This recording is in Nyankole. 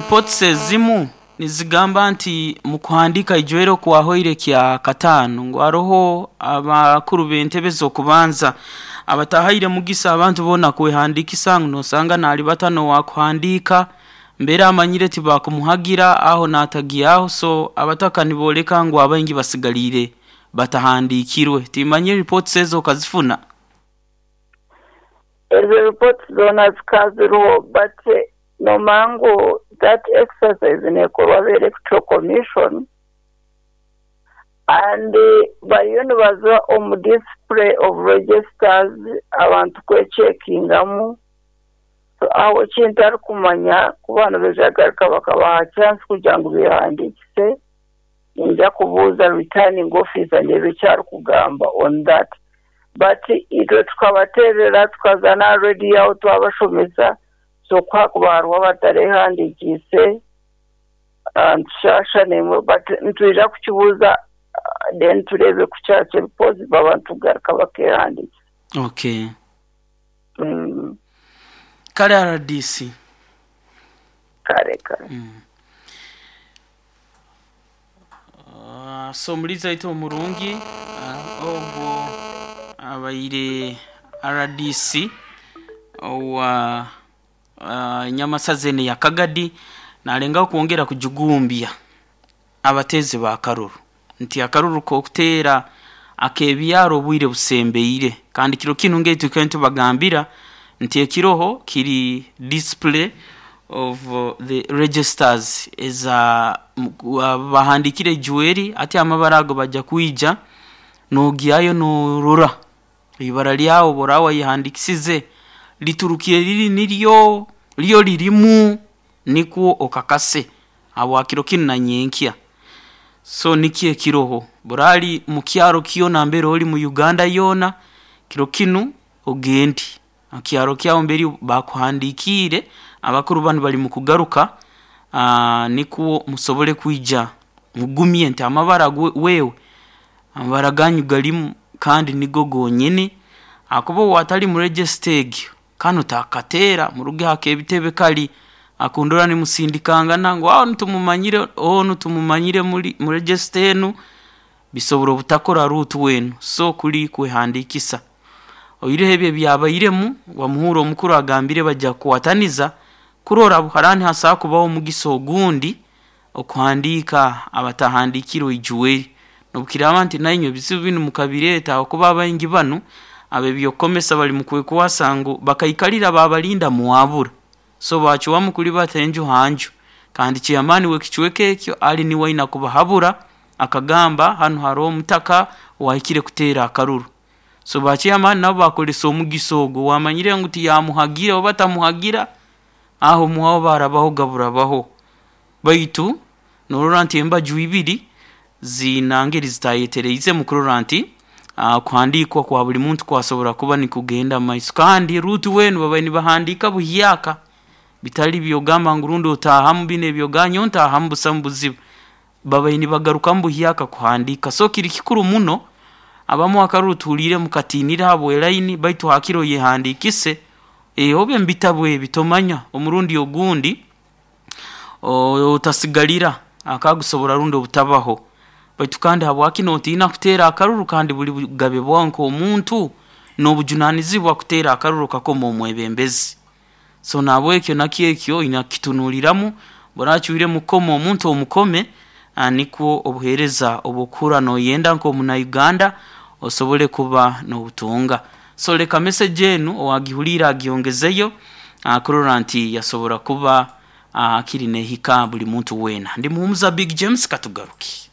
Reports ezimu nizigamba nti mu kuhandiika ijwere okwahoire Kyakataano ngu haroho abakuru b'entebe z'okubanza abatahaire mugisa abantu boona kwehandiikisa ngu nosanga nalibata n'owakuhandiika mbeera amanyire tibakumuhagira aho natagyaho so abataka niboleka ngu abaingi basigaliire batahandiikirwe. Timanyire reports ezo okazifuna? Ezo reports zoona zikaba ziriho but Nomanya ngu that exercise nekorwa aba electoral commission and bariyo nibaza omu display of registers abantu kwekyekingamu so aho ekintarikumanya ku banibaija kugaruka bakabaha chance kugira ngu behandiikise ninza kubuuza returning officer ndeebe eki arikugamba on that but itwe tukabateerera tukaza n'aha radio aho twabashomesa So ku hakuba hariho abatareehandiikiise, nitushaasha naimwe but nitwija kukibuuza then tureebe ku kyaba kiri possible abantu kugaruka bakeehandiikisa. Okay. Kale rdc. Kare kare. So omuliizi waitu omurungi ogwo abaire rdc owa Nyamasaza eno eya Kagadi nalengaho kwongera kujugumbya abateezi ba karuru nti akaruru k'okuteera ak'ebyaro obwire busembeire kandi kiro kinu ngeitwe twikaire nitubagambira nti ekiroho kiri display of the registers eza bahandikire ijweri hati amabara ago baja kwija nogyayo norora eibara lyawe obu oraba wayehandikisize liturukire riri niryo ryo ririmu nikwo okakase habwa kiro kinu na nyenkya. So nikyo ekiroho burali mukyaro kyona nambere ori mu Uganda yoona kiro kinu ogende. Aha kyaro kyabo mberi bakuhandiikiire, abakuru banu bari mukugaruka nikwo musobole kwija mugumye nti amabara wewe amabara ganyu garimu kandi nigo gonyini ahakuba owatari mu register egyo kanu takateera muruge aha k'ebitebe kari akundora nimusindikangana ngu onu tumumanyire onu tumumanyire muri mu register enu bisobora obutakora ruutu enu so kuri kwehandiikisa. Oihireho ebyo ebyabairemu, Wamuhura omukuru agambire baija kukwataniza kurora haraba nihasobora kubaho omugisa ogundi okuhandiika abatahandiikirwe Ijueli. Nobukiraaba nti nainywe ebizibu binu mukabireeta ahakuba abaingi banu ab'ebyokukomesa bali mukwekwasa ngu bakaikalira baabalinda mwabura. So baacwamu kulibata enju ha nju. Kandi chairman w'ekicweka ekyo ali niwe aina kubahabura akagamba hanu haroho omutaka owahikire kuteera akaruru. So ba chairman nabo bakoresa omugisa ogwo owamanyire ngu tiyamuhagira oba tamuhagira, aho muhaho barabaho gaburabaho. Baitu norora nti embaju ibiri ziina ngeri zitayetereize mukurora nti okuhandiikwa kwa buli muntu kwasobora kuba nikugenda mumaiso. Kandi ruutu weenu babaire nibahandiika buhyaka bitari byogamba ngu rundi otaahamu binu ebyogamba nyowe ntaahamu busamu buzibu. Babaire nibagarukamu buhyaka kuhandiika. So kiri kikuru muno abamu akaruru tuhuliire mukatiinire ahabw'elaini baitu hakire oyehandiikise obe omu bitabu ebi tomanya omurundi ogundi otasigalira akagusobora rundi obutabaho. Baitu kandi habwaki notiina kuteera akaruru kandi buli bugabe bwawe nk'omuntu n'obujunanizibwa kuteera akaruru okakoma omwebembezi. So nahabwekyo nakyo ekyo oine kukitunuliramu, bw'oracwiremu kukoma omuntu omukome nikwo obuheereza obw'okuhurra noyenda nk'omunauganda osobole kuba n'obutunga. So leka message enu owagihuliire agyongezeyo kurora nti yasobora kuba akiri nehika buli muntu weena. Ndi Muhumuza Big James katugaruke.